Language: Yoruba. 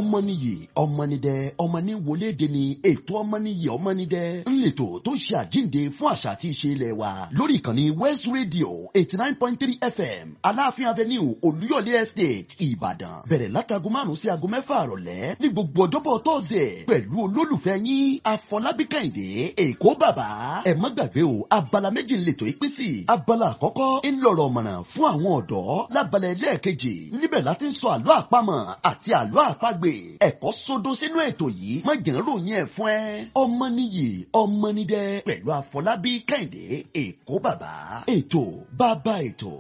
Ọmọnìyí ọmọnìdẹ ọmọnì wọléde ni ètò ọmọnìyí ọmọnìdẹ ńlẹtọ tó ṣe àjíǹde fún àṣà àti ìṣe ilẹ̀ wa lórí ìkànnì West Radio 89.3 FM, Aláàfin Avenue, Olúyọ̀lé Estate, Ìbàdàn. Bẹ̀rẹ̀ látago 5 sí aago 6 àrọ̀lẹ́ ní gbogbo ọjọ́bọ̀ Thursday pẹ̀lú olólùfẹ́ yín Afọlábí Kẹ́hìndé Èkó Bàbá. Ẹ má gbàgbé o, abala méjì ńlẹtọ ìpín sí. Abala àkọ́kọ́ ńlọrọ̀ mọ̀nà fún àwọn ọ̀dọ́, lábala ẹlẹ́ẹ̀kejì níbẹ̀ láti ń sọ àlọ́ àpamọ̀ àti àlọ́ àpagbè. Ẹ̀kọ́ sódó sínú ètò yìí, má jẹ́ ń ròyìn ẹ̀ fún ẹ. Ọmọnìyí ọmọnìdẹ pẹ̀lú Àfọlábí Kẹ́hìndé Èkó Bàbá. Ètò bàbá ètò.